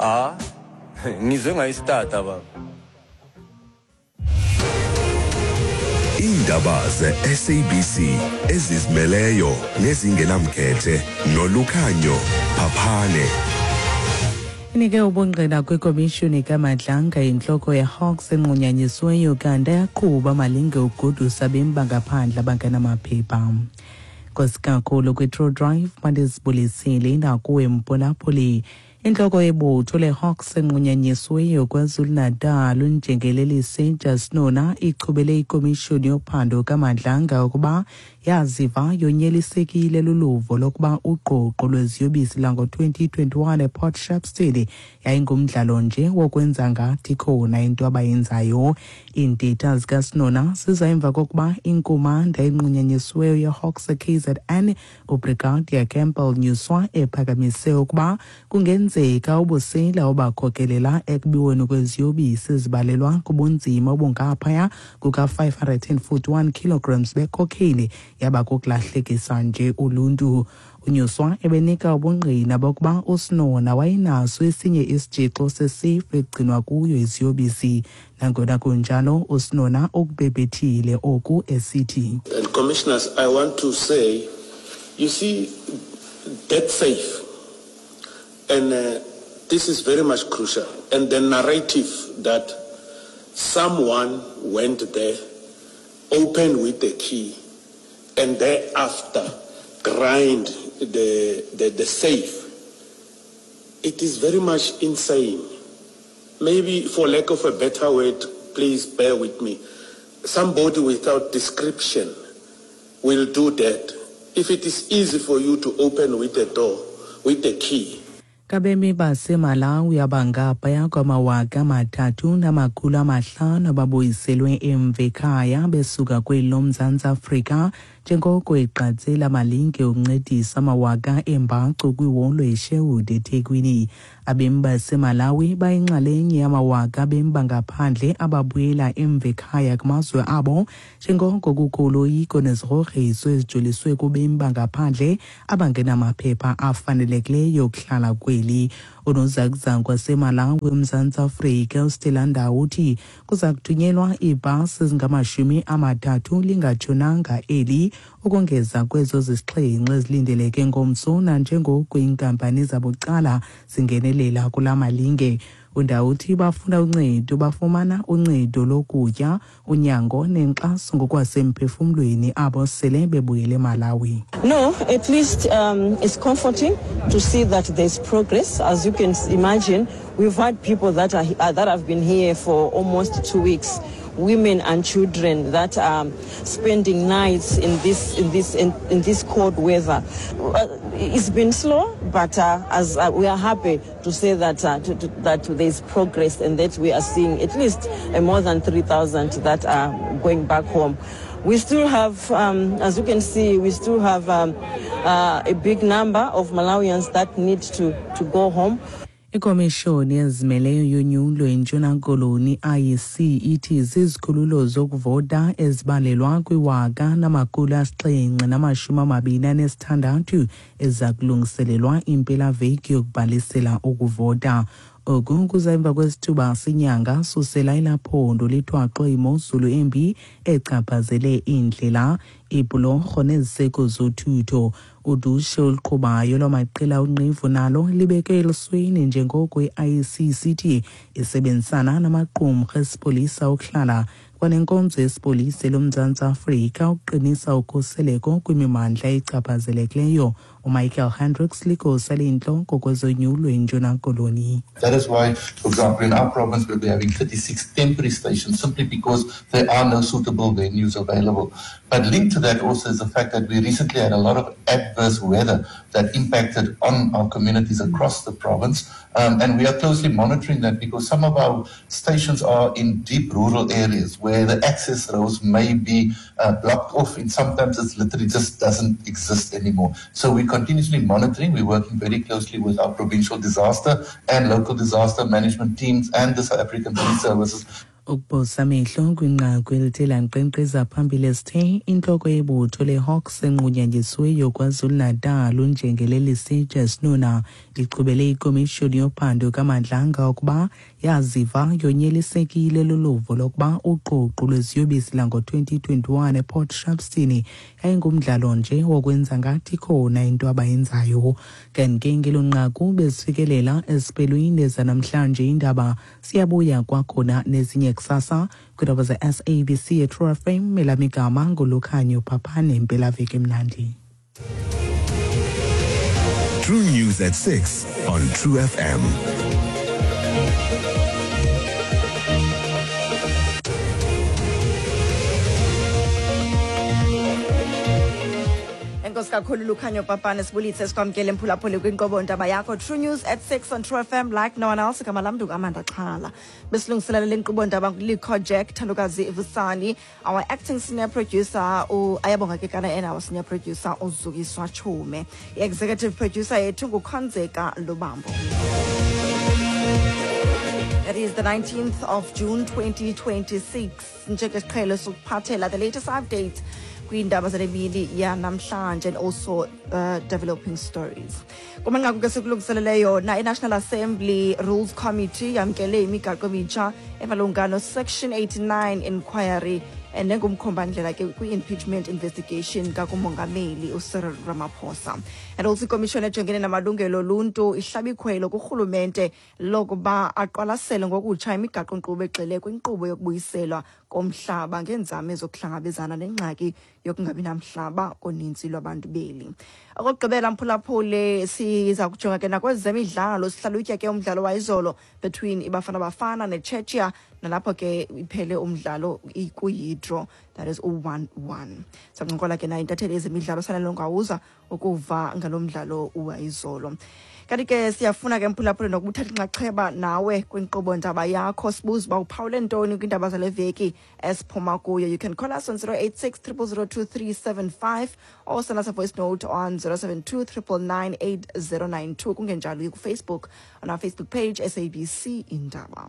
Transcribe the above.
Ah, ngizwe ngayistata baba. Iindaba ze-SABC ezizimeleyo nezingenamkhethe nolukhanyo Phaphane. Inike ubungqina kwikomishoni kaMadlanga intloko yeHawks enqunyanyisiweyo kanti ayaqhuba malinge ugodusa abemi bangaphandle abangenamaphepha. Nkosi kakhulu kwi-True Drive mandizibulisile nakuwe mphulaphuli. Intloko yebutho leHawks enqunyanyisiweyo KwaZulu-Natal uNjengelelise Jasnona ichubele ikomishoni yophando kaMadlanga ukuba yaziva yonyelisekile luluvo lokuba ugqogqo lweziyobisi lango-2021 ePort Shepstone yayingumdlalo nje wokwenza ngathi khona into abayenzayo. Iintetha zikaSinona ziza emva kokuba inkumanda enqunyanyisiweyo yeHawks KZN uBrigadier Campbell Nyuswa ephakamise ukuba kungenzeka ubusela obakhokelela ekubiweni kweziyobisi ezibalelwa kubunzima obungaphaya kuka-541 kilograms becocaine yaba kukulahlekisa nje uluntu. UNyuswa ebenika ubungqina bokuba uSinona wayenaso esinye isitshixo sesefu ekugcinwa kuyo iziyobisi. Nangona kunjalo, uSinona ukubhebhethile oku esithi, And commissioners, I want to say, you see, that safe, and this is very much crucial, and the narrative that someone went there, opened with the key, and thereafter grind the safe, it is very much insane. Maybe for lack of a better word, please bear with me. Somebody without description will do that. If it is easy for you to open with the door, with the key. Kabemi baseMalawi abangaphaya kwama-3500 ababuyiselwe emva ekhaya besuka kweli loMzantsi Afrika njengoko igqatsela malinge ukuncedisa amawaka embacu kwiholo iSherwood eThekwini. Abemi baseMalawi bayinxalenye yamawaka abemi bangaphandle ababuyela emva ekhaya kumazwe abo njengoko kukho uloyiko nezigrogriso ezijoliswe kubemi bangaphandle abangenamaphepha afanelekileyo okuhlala kweli. Unozakuzaku waseMalawi eMzantsi Afrika uStella Ndawo uthi kuza kuthunyelwa iibhasi ezingama-30 lingatshonanga eli ukongeza kwezo zisixhenxe ezilindeleke ngomso nanjengoko iinkampani zabucala zingenelela kula malinge. UNdawo uthi bafuna uncedo bafumana uncedo lokutya, unyango nenkxaso ngokwasemphefumlweni abo sele bebuyele eMalawi. No, at least it's comforting to see that there's progress. As you can imagine, we've had people that have been here for almost 2 weeks, women and children that are spending nights in this cold weather. It's been slow, but as we are happy to say that there's progress and that we are seeing at least more than 3,000 that are going back home. We still have, as you can see, we still have a big number of Malawians that need to go home. Ikomishoni ezimeleyo yonyulo eNtshona Koloni IEC ithi zizikhululo zokuvota ezibalelwa kwi-1726 eziza kulungiselelwa impelaveki yokubhalisela ukuvota. Oku kuza emva kwesithuba senyanga susela elaphondo lithwaxwe imozulu embi echaphazele iindlela, iibhulorho neziseko zothutho. Udushe oluqhubayo lwamaqela onqevu nalo libeke elisweni njengoko i-IEC sithi isebenzisana namaqumrhu esipolisa okuhlala kwanenkonzo yesipolisa loMzantsi Afrika ukuqinisa ukhuseleko kwimimandla echaphazelekileyo. UMichael Hendricks ligosa leyintloko kwezonyulo eNtshona Koloni. That is why, for example, in our province, we'll be having 36 temporary stations simply because there are no suitable venues available. But linked to that also is the fact that we recently had a lot of adverse weather that impacted on our communities across the province. And we are closely monitoring that because some of our stations are in deep rural areas where the access roads may be blocked off, and sometimes it's literally just doesn't exist anymore. So we're continuously monitoring. We're working very closely with our provincial disaster and local disaster management teams and the South African Police Services. Ukuphosa amehlo kwinqaku elithe lankqenkqeza phambili esithe intloko yebutho leHawks enqunyanyisiweyo KwaZulu-Natal uNjengelele Sitshe Sinuna ichubele ikomishoni yophando kaMadlanga ukuba yaziva yonyelisekile luluvo lokuba uququ lweziyobisi lango-2021 ePort Shepstone yayingumdlalo nje wokwenza ngathi khona into abayenzayo. Kanti ke ngelo nqaku bezifikelela esiphelweni zanamhlanje indaba. Siyabuya kwakhona nezinye kusasa kwiindaba ze-SABC eTrue FM. Elam igama nguLukhanyo Phaphane. Impelaveki emnandi. True News at 6 on True FM. Enkosi kakhulu, Lukhanyo Papane. Sibulise, sikwamkele mphulaphuli kwinkqubo ndaba yakho True News at 6 on True FM like no one else. Igama lam ndinguAmanda Xhala. Besilungiselela le nkqubo ndaba nguLikho Jack, Thandokazi Vusani, our acting senior producer Ayabonga Kekana, and our senior producer uZukiswa Chume. I-executive producer yethu nguKhonzeka Lubambo. It is the 19th of June 2026. Njengesiqhelo sokuphathela the latest updates kwiindaba zale mini yanamhlanje and also developing stories. Kumanqaku ke sikulungiselele yona, i-National Assembly Rules Committee yamkele imigaqo emitsha emalunga no-Section 89 inquiry nengumkhombandlela ke kwi-impeachment investigation kakumongameli uCyril Ramaphosa. And also ikomishoni ejongene namalungelo oluntu ihlaba ikhwelo kurhulumente lokuba aqwalasele ngokutsha imigaqo-nkqubo egxile kwinkqubo yokubuyiselwa komhlaba ngeenzame zokuhlangabezana nengxaki yokungabi namhlaba konintsi lwabantu beli. Okokugqibela, mphulaphuli, siza kujonga ke nakwezemidlalo, sihlalutya ke umdlalo wayizolo between iBafana Bafana neChechia, nalapho ke iphele umdlalo kuyi-draw, that is u-1-1. Sancokola ke nayo intatheli yezemidlalo Sanelo Ngawuza ukuva ngalo mdlalo wayizolo. Kanti ke siyafuna ke, mphulaphuli, nokubuthatha inxaxheba nawe kwinkqubo ndaba yakho, sibuze uba uphawule ntoni kwiindaba zale veki esiphuma kuyo. You can call us on 086 0002375 or send us a voice note on 072 999 8092. Kungenjalo, kufacebook on our Facebook page, SABC Indaba.